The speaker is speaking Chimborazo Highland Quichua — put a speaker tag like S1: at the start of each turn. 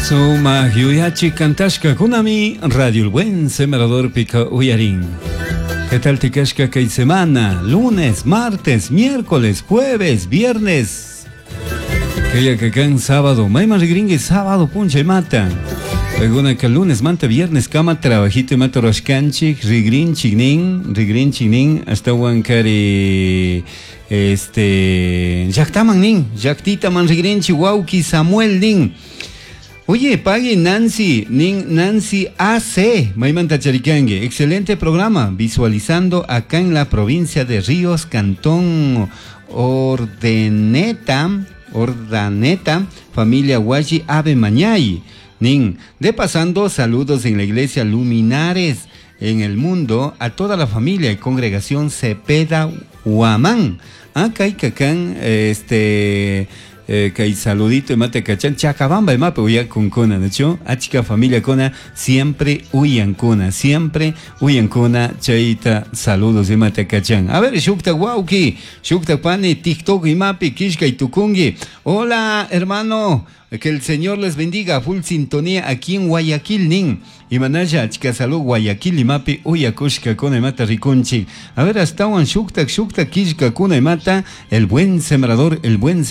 S1: Sumak yuyachi kantashkakunami Radio El Buen Sembrador pika uyarin. ¿Qué tal tikashka kay semana? Lunes, martes, miércoles, jueves, viernes. Kaya kakan sábado. Mayman rigringi sábado puncha mata. Paykuna lunes manta viernes kama trabajito mata rashkanchik rigrinchik nin, rigrinchik nin, ashtawan kari este llaktaman nin, llaktitaman rigrinchik wawki Samuel nin. Oye, pague Nancy, nin Nancy AC, Maymanta Charicangue. Excelente programa, visualizando acá en la provincia de Ríos, Cantón Ordeneta, Ordaneta, familia Huachi Ave Mañay. Nin, de pasando saludos en la iglesia Luminares en el mundo a toda la familia y congregación Cepeda Huamán. Acá y cacán, este kay saludito mate kachan chacabamba imapi uyakunkuna nachu achka familiakuna siempre uyankuna siempre uyankuna chayta saludos imate kachan. A ver shukta wawki shukta pani TikTok imapi kishkay tukunki. Hola hermano, que el Señor les bendiga. Full sintonía aquí en Guayaquil nin. Imanalla achka salud Guayaquil imapi uyakushkakuna imata rikunchik. A ver, ashtawan shuktak shuktak killkakuna imata el buen sembrador, el buen sembrador.